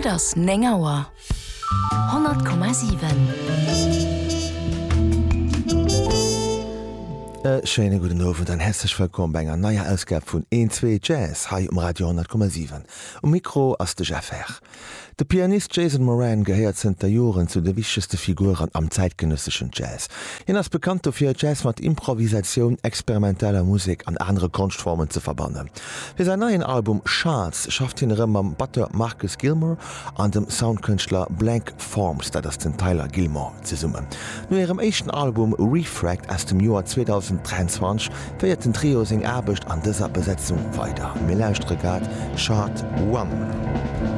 Et ass 9 Auer. 100,7. E schéine gudden Owend an häerzlech wëllkomm bei enger neier Ausgab vun Een Zwee Jazz hei um Radio 100,7. Um Mikro ass de Jeff Herr. De Pianist Jason Moran gehéiert zënter Joren zu de wichtegste Figuren am zäitgenësseschen Jazz. Hien ass bekannt dofir, Jazz mat Improvisatioun, experimenteller Musek an anere Konschtformen ze verbannen. Fir säin neien Album Shards schafft hien erëm mam Batteur Marcus Gilmore an dem Soundkënschtler Blank Forms, dat ass den Tyler Gilmore, zesummen. No hirem éischten Album Refract aus dem Joer 2023 féiert den Trio seng Aarbecht an dëser Besetzung weider. Mir lauschtere grad Shard One.